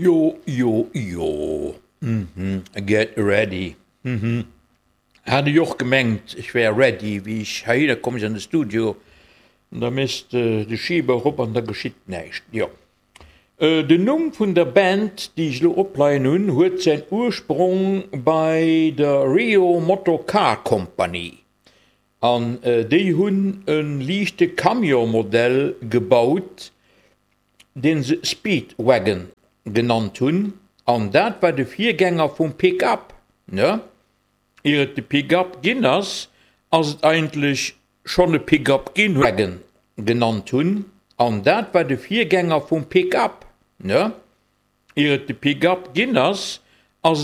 Jo, jo, jo, mhm, get ready, mhm. Hat ech och gemengt, ech wär ready, wéi ech heihinner komm sinn an de Studio, da méchs de de Schiber erop an da geschitt näischt. Jo. Den Numm vun der Band, déi ech elo opleien hunn, huet säin Ursprong bei der Rio Motor Car Company an déi hunn e liichte Camion-Modell gebaut, dee se Speedwagon genannt hunn, an dat war de Virgänger vum Pick-up, ne? Ier et de Pick-up ginn ass, ass et eigentlech schonn e Pick-up ginn. Wagon genannt hunn, an dat war de Virgänger vum Pick-up, ne? Ier et de Pick-up ginn ass.